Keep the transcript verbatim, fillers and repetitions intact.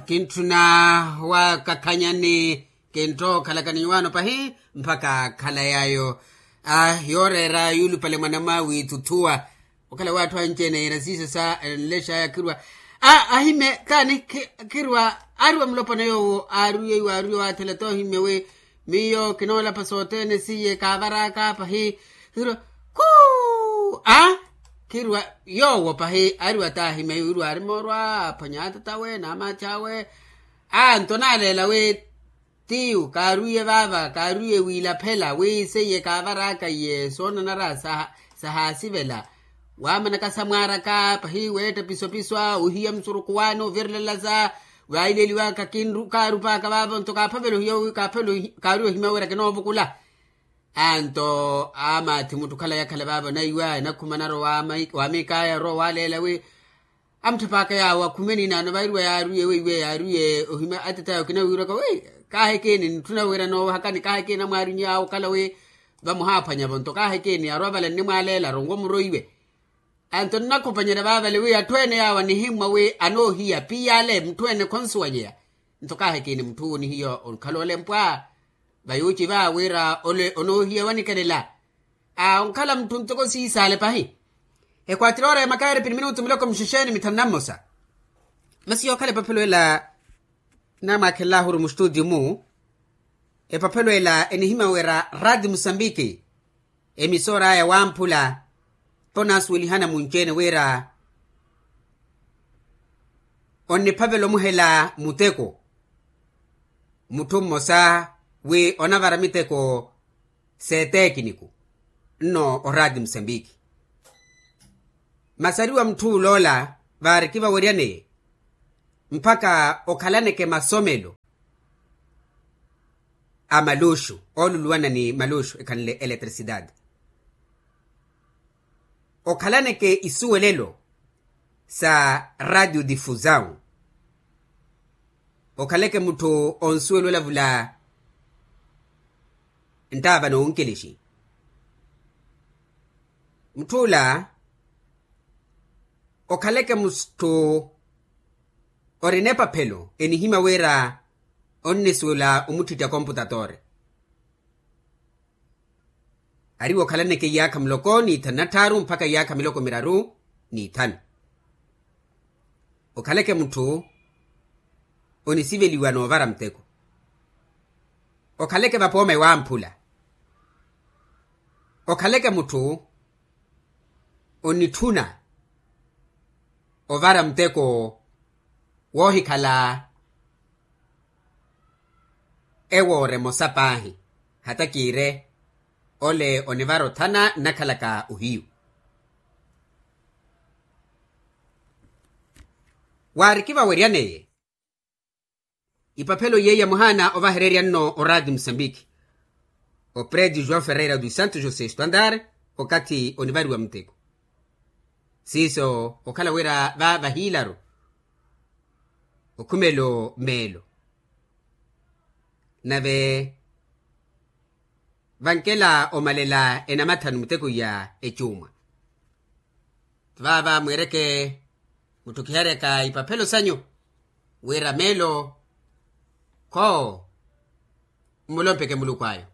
Kintthuna wakakhanyani. Kinttookhalakani nyuwaano pahi mpakha khala yaayo. Yooreera yuulupale mwanamwaawe ituthuwa. Okhala waatthu anci-ene yeera siiso sa enlexaya khirwa. Ahimye taani khirwa. Aariwa mulopwana yoowo aariye iwe aariye waathela t'ohimye wi miyo kinoolapa sothene siye kaavaraka pahi. Khirwa khuu a khirwa yoowo pahi aariwa t'ahimye iwe iriwa aari moorwa aphwanya atatawe n'amaathi awe. Anto naaleela wi tiyu kaarwiye vaava kaarwiye wiilaphela wi seiye kaavaraka iye soonanara sahaasivela. Waamanaka samwaaraka pahi weetta pisopiso a ohiya musurukhu waani ovirelelaza. Vaileeliwaka kinru kaarupaaka vaavo nto kaaphavela ohiya wi kaaphavela kaarwiye ohimya wira kinoovukula. Anto amaathi mutthu khala yakhala vaavo naiwa enakhumanaru wa miikaya orowa waaleela wi amutthapaka yaawo akhumeni naano vairiwa yaariye weiwe yaariye ohimya atetayo kinawiirwaka wi kaahekeni nitthuna wira noowahakani kaahekeni amwaariny'awe okhala wi vamuhaaphwanyavo nto kaahekeni arwa vala nnimwaaleela aronwe omuroiwe. Anto nnakhupanyerya vaavale wi atthu ene yaawo anihimmwa wi anoohiya piyale mutthu ene khonsuwanyeya. Nto kaahekeni mutthu wu ni hiyo onkhala olempwa vayuuci vaawe wira ole onoohiya wanikelela. Onkhala mutthu ntoko siisaale pahi. Ekwatira oora ya makaari pini minutu miloko mixexeeni mithanu na mmosa. Masi yookhala epaphelo ela namwaakhenlahuru mustutiyu-mu. Epaphelo ela enihimya wira rati musambiki emisoor'aya wamphula ponaasuwelihana munci-ene wira onniphavela omuhela muteko mutthu mmosa wi onavara miteko s'etekiniku nno orati musambiki. Masi ariwa mutthu oloola vaari kivaweryaneye mpakha okhalaneke masomelo a maluxu ooluluwana ni maluxu ekhanle eletricidade. Okhalaneke isuwelelo sa radio difusawu. Okhaleke mutthu onsuwela olavula nttaava n'onkelexi. Mutthu ola okhaleke mutthu orina epaphelo enihimya wira onnisuwela omuttittya komputatori. Ariwo okhalaneke iyaakha muloko n'ithanu na tthaaru mpakha iyaakha miloko miraru n'ithanu. Okhaleke mutthu onisiveliwa n'ovara muteko. Okhaleke vapooma ewamphula. Okhaleke mutthu onitthuna ovara muteko woohikhala ewoora emosa paahi. Hata kiire ole onivara othana nnakhalaka ohiyu. Waari kivaweryaneye ipaphelo iye yamuhaana ovahererya nno orati musambiki opreti joão ferreira dos santos josé standard. Okathi onivariwa muteko siiso okhala wira va vahiilaru okhumelo meelo nave vankela omalela enamathanu muteko ya ecuumwa. Vaava mweereke mutthu kiharyaka ipaphelo sanyu wira meelo khoo mmulompeke muluku ayo.